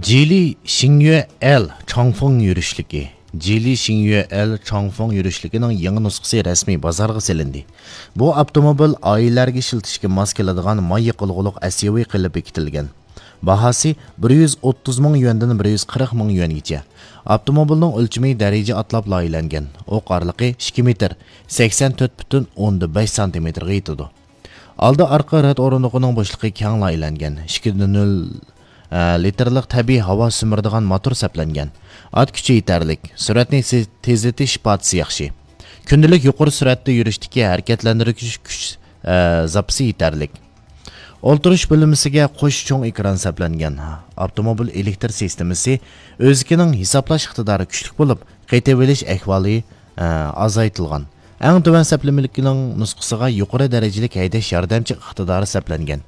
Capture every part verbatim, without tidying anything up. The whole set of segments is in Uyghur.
جىلى شىڭيۈە ئېل چاڭفېڭ يۈرۈشلۈكى. جىلى شىڭيۈە ئېل چاڭفېڭ يۈرۈشلۈكىنىڭ يېڭى نۇسخىسى رەسمىي بازارغا سېلىندى. بۇ ئاپتوموبىل ئائىلىلەرگە ئىشلىتىشكە ماس كېلىدىغان ماي يېقىلغۇلۇق ئەسيۇۋى قىلىپ بېكىتىلگەن. باھاسى بىر يۈز ئوتتۇز مىڭ يۈەندىن بىر يۈز قىرىق مىڭ يۈەنگىچە. ئاپتوموبىلنىڭ ئۆلچىمى دەرىجە ئاتلاپ لايىھەلەنگەن. ئوق ئارىلىقى ئىككى مېتىر، سەكسەن تۆت پۈتۈن ئوندىن بەش سانتىمېتىرغا يېتىدۇ. ئالدى ئارقا رەت ئورۇندۇقىنىڭ بوشلۇقى كەڭ لايىھەلەنگەن. ئىككى نۆل، ئە، لىتىرلىق تەبىئىي ھاۋا سۈمۈرىدىغان موتور سەپلەنگەن. ئات كۈچى يېتەرلىك، سۈرئەتنى سى-، تېزلىتىش ئىپادىسى ياخشى. كۈندىلىك يۇقىرى سۈرئەتتە يۈرۈشتىكى ھەرىكەتلەندۈرگۈچ كۈچ، ئە، زاپىسى يېتەرلىك. ئولتۇرۇش بۆلمىسىگە قوش چوڭ ئېكران سەپلەنگەن. ئاپتوموبىل ئېلېكتر سىستېمىسى ئۆزىكىنىڭ ھېسابلاش ئىقتىدارى كۈچلۈك بولۇپ، قېتىۋېلىش ئەھۋالى، ئە، ئازايتىلغان. ئەڭ تۆۋەن سەپلىمىلىكنىڭ نۇسخىسىغا يۇقىرى دەرىجىلىك ھەيدەش ياردەمچى ئىقتىدارى سەپلەنگەن.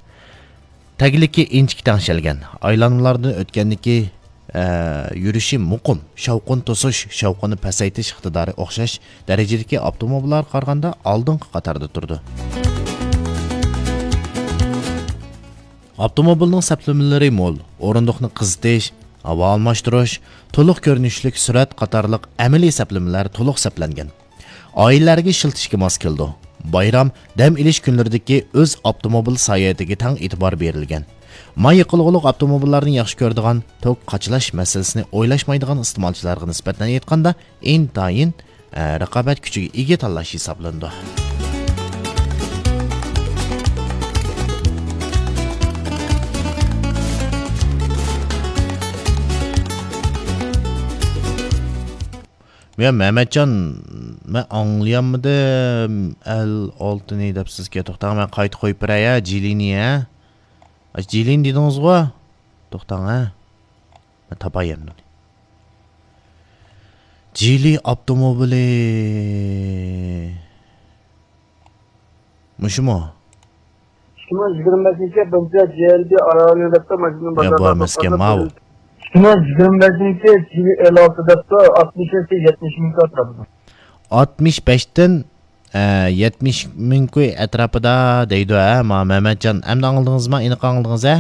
تەگلىكى ئىنچىكە تەڭشەلگەن. ئايلانمىلاردىن ئۆتكەندىكى، ئە، يۈرۈشى مۇقىم، شاۋقۇن توسۇش، شاۋقۇننى پەسەيتىش ئىقتىدارى ئوخشاش دەرىجىدىكى ئاپتوموبىللارغا قارىغاندا ئالدىنقى قاتاردا تۇرىدۇ. ئاپتوموبىلنىڭ سەپلىمىلىرى مول، ئورۇندۇقنى قىزىتىش، ھاۋا ئالماشتۇرۇش، تولۇق كۆرۈنۈشلۈك سۈرئەت قاتارلىق ئەمەلىي سەپلىمىلەر تولۇق سەپلەنگەن. ئائىلىلەرگە ئىشلىتىشكە ماس كېلىدۇ. بايرام، دەم ئېلىش كۈنلىرىدىكى ئۆز ئاپتوموبىل ساياھىتىگە تەڭ ئېتىبار بېرىلگەن. ماي يېقىلغۇلۇق ئاپتوموبىللارنى ياخشى كۆرىدىغان، توك قاچىلاش مەسىلىسىنى ئويلاشمايدىغان ئىستېمالچىلارغا نىسبەتەن ئېيتقاندا، ئىنتايىن، ئە، رىقابەت كۈچىگە ئىگە تاللاش ھېسابلىنىدۇ. يا مەمەتجان، مەن ئاڭلىيالمىدىم. ئەل ئالتىنى دەپ سىزگە، توختاڭ، مەن قايتا قويۇپ بېرەي، ھە، جىلىنى، ھە. ئاشۇ جىلىنى دېدىڭىزغۇ؟ توختاڭ، ھە. مەن تاپاي ئەمدى ئۇنى. جىلى ئاپتوموبىلى. مۇشۇمۇ؟ ئىككى مىڭ يىگىرمە بەشىنچى يىل بويىچە جى ئەل بى ئاراۋىلى دەپتۇ، ماشىنىنى يا، بۇ بازاردا ئەمەسكەن، ساتقاندا ماۋۇ. ئىككى مىڭ يىگىرمە بەشىنچى يىل جى ئېل ئالتە دەپتۇ، ئاتمىش يەتتە، يەتمىش مىڭ ئەتراپىدا. ئاتمىش بەشتىن، ئە، يەتمىش مىڭ كوي ئەتراپىدا دەيدۇ، ھە، ما، مەمەتجان. ئەمدى ئاڭلىدىڭىزما؟ ئېنىق ئاڭلىدىڭىز، ھە؟